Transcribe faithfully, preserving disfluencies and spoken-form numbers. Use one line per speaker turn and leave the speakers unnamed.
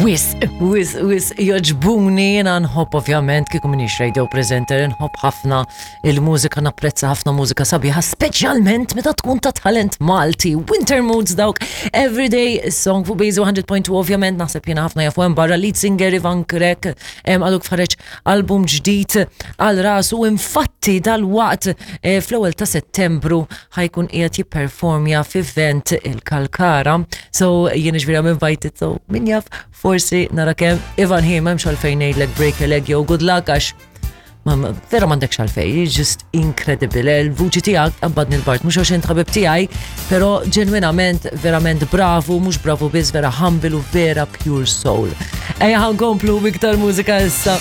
Wisq, wisq, wisq, jogħġbuni, jiena nħobb ovvjament, kieku minix radio presenter, nħobb ħafna il-mużika, napprezza ħafna mużika sabiħa, speċjalment meta tkun ta' talent Malti. Winter Moods dawk, Everyday Song fuq Base one hundred point two, ovvjament, naħseb jiena ħafna jafu hemm barra lead singer Ivan Grech, għadu ħareġ album ġdid għal rasu, infatti dal-waqt eh, fl-ewwel ta' Settembru ħa jkun qiegħed jipperformja f'event il-Kalkara. So jien ġifieri I'm invited, so min jaf, forsi nara kemm Ivan ħi, m'hemmx għalfejn ngħidlek break a leg jew good luck għax ma- ma- vera m'għandekx għalfejn, just incredible. Il-vuċi tiegħek qabbadni l-bard, mhux għax int ħabib tiegħi, però ġenwinament verament bravu, mhux bravu biss, vera humble u vera pure soul. Ejja ħa nkomplu b'iktar mużika issa.